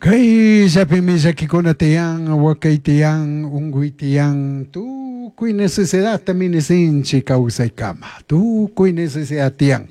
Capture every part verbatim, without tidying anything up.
Kayllapimi llakikuna tiyan, wakay tiyan, unkuy tiyan, tukuy necesidadta minisinchik kawsaykama, tukuy necesidad tiyan.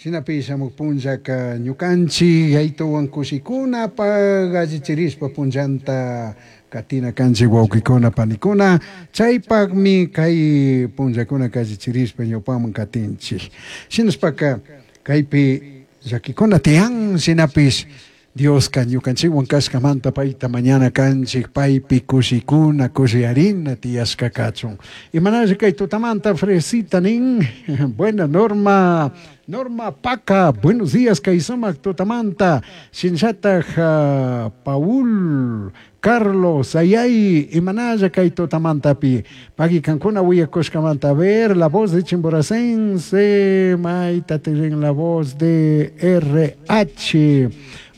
Shinapish shamuk punllaka ñukanchik yaytuwan kushikunapaq allichirishpa punllanta katina kanchik wawqikuna panikuna, chaypaqmi kay punllakuna allichirishpa ñawpaman katinchik. Shinashpaka kaypi llakikuna tiyan, shinapish Dioska ñukanchikwan kashkamanta payta mañana kanchik, paypi kushikuna, kushiyarina tiyashka kachun. Imanalla kay tutamanta Fresita nin, buena Norma, Norma Paca, buenos días kay sumak tutamanta, shinllataj uh, Paul Carlos Ayay, imanalla kay tutamantapi, pagui kankuna wiyakushkamanta, a ver, la voz de Chimboracense, mayta tirin la voz de R H.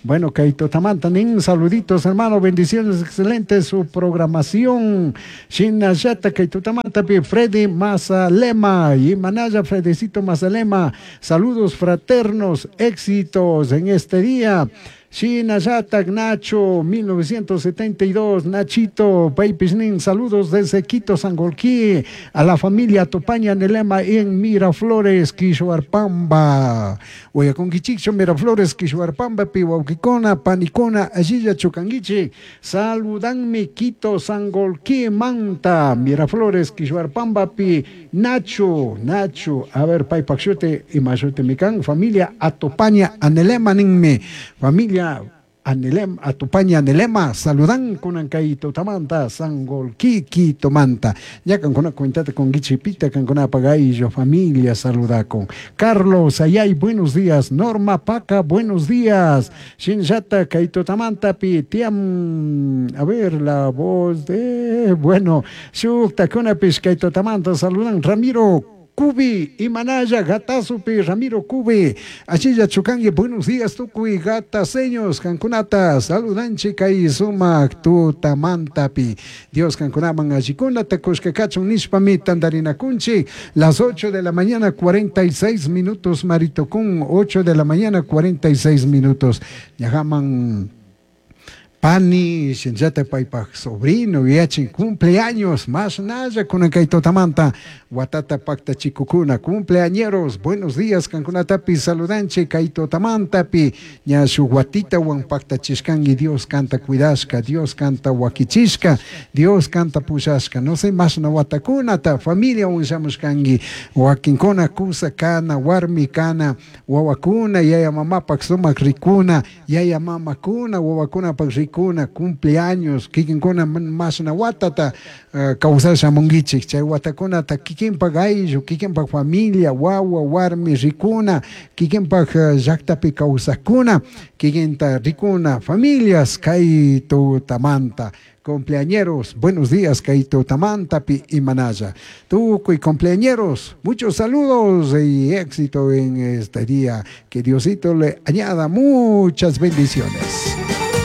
Bueno, kay tutamanta nin, saluditos hermano, bendiciones, excelente su programación. Shinallata kay tutamantapi Freddy Mazalema, y Manaya Fredecito Mazalema, saludos fraternos, éxitos en este día. Shinallata Nacho, mil novecientos setenta y dos, Nachito, Paypishnin, saludos desde Quito, Sangolquí, a la familia Topaña Nelema en Miraflores, Quishuarpamba. Oyaconquichicho, Miraflores, Quishuarpamba, Pihuauquicona, Panicona, Allilla, Chucanguichi, saludanme Quito, Sangolquí, Manta, Miraflores, Quishuarpamba, Pi, Nacho, Nacho, a ver, Paypaxute y Mayute Micán, familia Atopaña Anelema, ninme, familia Anelem, Atupaña Anelema, saludan con Ancaito Tamanta, Sangolquí, Quito Manta. Ya con una cuentata con Guichipita, con una pagaillo, familia, saluda con Carlos Ayay, buenos días. Norma Paca, buenos días. Shinjata, Kaito Tamanta, Pitiam, a ver, la voz de, bueno, Shukta, Kunapis, Kaito Tamanta, saludan Ramiro Cubi y Manaya, Gatazupi, Ramiro Cubi, Achilla Chucangui, buenos días, Tucuy, Gataseños, Cancunata, saludanchi, Kai Sumac, Tutamantapi, Dios Cancunaman, Achicuna, Tecushkekachun, Nishpami, Tandarina Kunchi, las ocho de la mañana, cuarenta y seis minutos, Maritocún, ocho de la mañana, cuarenta y seis minutos, Yajaman Pani, Shinjata Paypaj sobrino, yachin cumpleaños, más naya con Tamanta, Watata Pacta Chikukuna, cumpleañeros, buenos días, Cancunatapi, saludanche, Kaito Tamantapi, Ñashu Watita, Wan Pacta Chishkangi, Dios canta cuidashka, Dios canta Wakichishka, Dios canta Pushashka, no sé más na Watakunata, familia Unshamushkangi, Wakinkona, Kusa Kana, Warmi Kana, Wawakuna, Yaya Mama Paksumak Rikuna, Yaya Mama Kuna, Wawakuna Pak Kuna, cumpleaños, kikinkuna más na watata uh, kawsasha mungichik, chay watakunata kikinpak ayllu, kikinpak familia, wawa, warmi, rikuna, kikinpak uh, llaqtapi kawsakuna, kikinta rikuna, familias, kay tutamanta. Cumpleañeros, buenos días, Kaito Tamantapi y Manaya. Tucuy cumpleañeros, muchos saludos y éxito en este día. Que Diosito le añada muchas bendiciones.